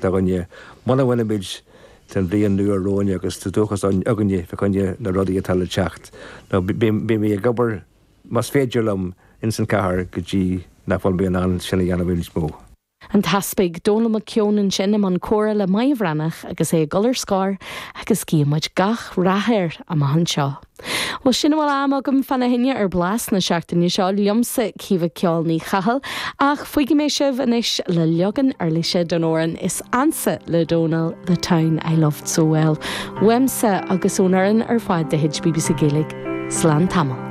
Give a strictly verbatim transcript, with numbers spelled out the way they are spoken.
Againne muna bhfuilimid den bhliain nua romhainn agus tá dóchas againne fá choinne na rudaí atá le teacht. No beidh mé ag obair más féidir liom ins an chathair go dtí nach bhfuil mé in ann sin a dhéanamh níos mó. An tEaspag Dónal McKeown ansin i mbun comhrá le Maja Bhreathnach agus é ag dul ar scor agus guímid gach rath air amach anseo. Well sin a bhfuil am agam fána choinne ar Blas na seachtaine seo liomsa Caoimhe Ceol Ní Chathail ach fágfaidh mé sibh anois le leagan uirlise den amhrán is ansa le Dónal the town I loved so well. Uaimse agus ón fhoireann ar fad de chuid BBC Gaeilge, Slán tamall.